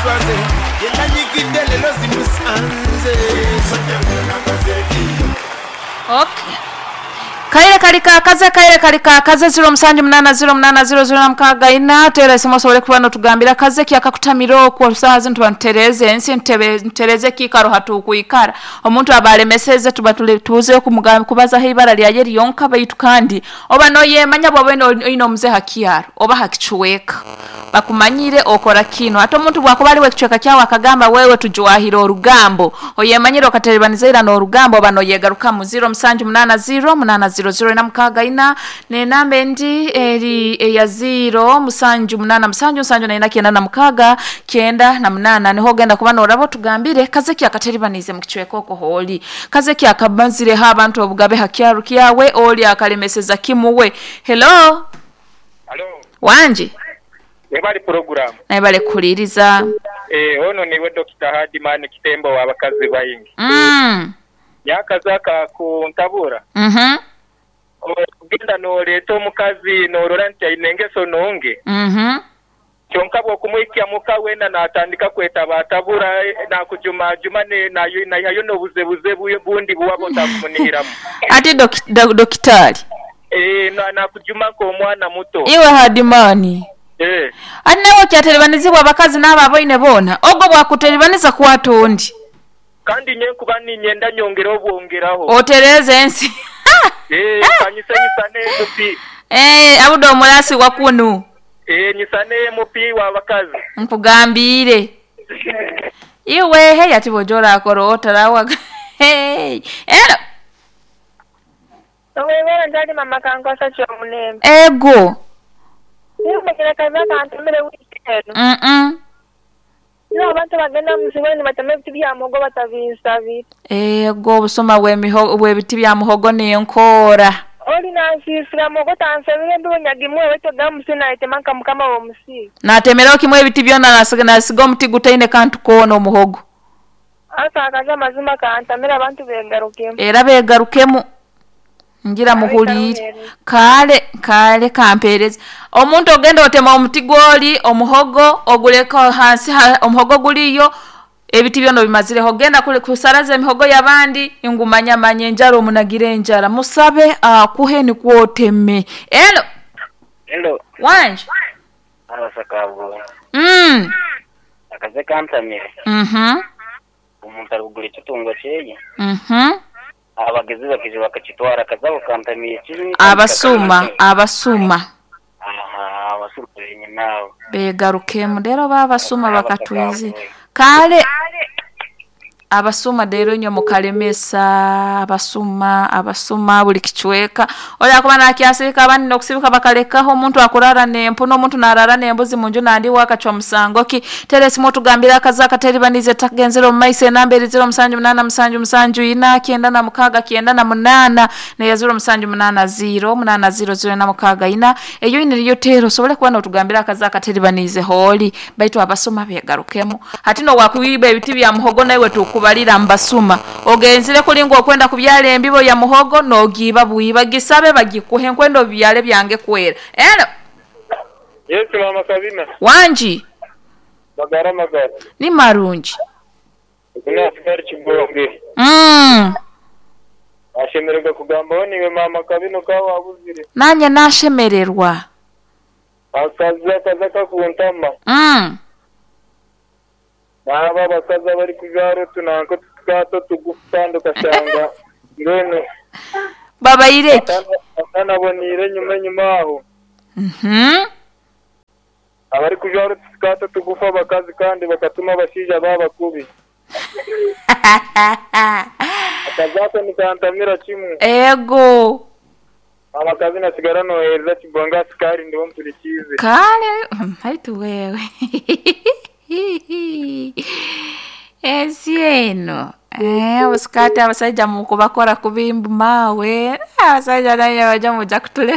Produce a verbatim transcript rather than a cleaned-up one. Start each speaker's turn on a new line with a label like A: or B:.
A: Swaze yenanyigidde lero zimusanze.
B: Okay. Kaire kalika kaze kaire kalika kaze zero musanju munana zero munana zero zero na mukaga ina tera isimu osobole kuba notugambira kaze ki akakutamira okwo saha zino tuba ntutereeze ensi ntebe ntutereze kiikaro hatukwikara omuntu abalemeseze tuba tule- tuze kumugamba kubazaho ibara lyaye lyonka baitu kandi oba noyemanya bw'oba oine omuze hakyaro oba hakichweka bakumanyire okora kino ate omuntu bwakuba aliwe ekichweka kyawe akagamba wewe tujwahire orugambo oyemanyire okaterebaniza ira n'orugambo oba noyegarukamu zero musanju munana zero munana zero zero ina mukaga ina nenamba endi eri eya zero musanju munana musanju musanju na ina kyenda na mukaga kyenda na munana niho ogenda kuba noraba otugambire kaze ki akateribanize mu kichweka oko hooli kaze ki akabazireho abantu obugabe hakyaro kyawe oli akalemeseza kimuwe. Hello.
C: Halo,
B: wanje
C: webali program.
B: Naye bale kuhuliriza.
C: Eh, ono niwe Doctor Hadiman Kitembo w'abakazi bayingi.
B: Mm.
C: Yakazaka kuntabura.
B: Mhm.
C: Ogenda noleeta omukazi norora nti aine engeso nonge.
B: Mhm.
C: Kyonka bw'okumwikya muka wena natandika kwetabatabura nakujumajuma ne nayo nayo n'obuzebuze bu- bundi buwaba otakumunihiramu.
B: Ate doki- do- dokitari.
C: Eh, na nakujuma nk'omwana muto.
B: Iwe Hadimani.
C: Eh,
B: Ati nawe okyateribaniziibwa abakazi n'abo aboine boona ogwo bwakuteribaniza kwata ondi.
C: Kandi nye nkuba ninyenda nyongera obwongeraho.
B: Otereeze ensi.
C: Eh, kanyise nyisane M P.
B: Eh, abude omulasi wa kunu.
C: Eh, nyisane M P w'abakazi.
B: Nkugambiire. Iwe hey ati bw'oja orakora otarawaga. Hey. Ero.
D: Owebera ndali mama kankosa kyomulembe.
B: Ego.
D: Nimbekera kaza kantumire wiiki eno.
B: Mm-mm.
D: Nibo abantu bagenda mu nsi bene batema ebiti bya muhogo batabinsabira.
B: Ego obusoma bw'emiho bw'ebiti bya muhogo n'enkoora.
D: Oli nansiisira muhogo tansabire embibo nyagimwe wetoga musi nayetema nka mukama w'omusi.
B: Natemeraho kimwe ebiti byona nasiga nasiga omuti gutaine kantu koona omuhogo.
D: Asa akaza amazima kantamira abantu begarukemu.
B: Era begarukemu. Ngira muhuliire. Kale kale kampereza. Omuntu ogenda otema omuti gwoli omuhogo oguleka hansi ha, omuhogo guliyo ebiti byona bimazireho ogenda kule kusaraza emihogo y'abandi ingumanya manye enjara omunagira enjara musabe akuhe nikwoteme. Elo.
E: Hello.
B: Wanje.
E: Abasakabwo.
B: Mm.
E: Akaze kantamire.
B: Mhm.
E: Omuntu arikugura ekitungo kyeye.
B: Mhm.
E: Abagezi bakije bakakitwara akazabo kantamiye kibi.
B: Abasuma abasuma.
E: Aha, abasuma benyine abo.
B: Begarukemu rero babasuma bakatwize. Kale abasuma rero nyo mukalemesa abasuma abasuma buli kichweka oya kuba nakyasirika abandi nokusibika bakalekaho omuntu akurara nempu n'omuntu narara nembuzi munju nandi wakacwa musango ki teresi mutugambira akaza akateribanize tagenzera omu maiso enamba eri zero musanju munana musanju musanju ina kyenda na mukaga kyenda na munana neya zero musanju munana zero munana zero zero na mukaga ina eyo ine niyo tero osobole kuba notugambira akaza akateribanize holi baitu abasuma begarukemu hati no wakwiba ebiti bya muhogo nawe tukubalira mbasuma ogenzire kulinga okwenda kubyala embibo ya muhogo nogiba buiba gisabe bagikuhe nkwenda obyale byange kwera. Elo.
C: Yes mama Sabina.
B: Wanji.
C: Magara magara.
B: Ni marungi.
C: Kuna askari kibonge.
B: Mm.
C: Ashemererwa kugambaho niwe mama Kabino kawa abuzire.
B: Nanye nashemererwa.
C: Akazi akaza kakuntama.
B: Mm.
C: Naba abakazi abari kujwara otunanko tukato tugufu kandi ukashanga mbwenu
B: babaireki
C: atanabonire enyuma enyuma aho.
B: Mhm.
C: Abari kujwara otukato tugufu abakazi kandi bakatuma abashaija babakubi. Akazako nikantamira kimwe.
B: Ego.
C: Amakazi nasigara nohereza kibonga asikari ndiho mpurikize.
B: Kale haitu wewe. Ensi eno eh obusikati abasajja mukubakora kubimbu mawe abasajja naye bajja muja kutule.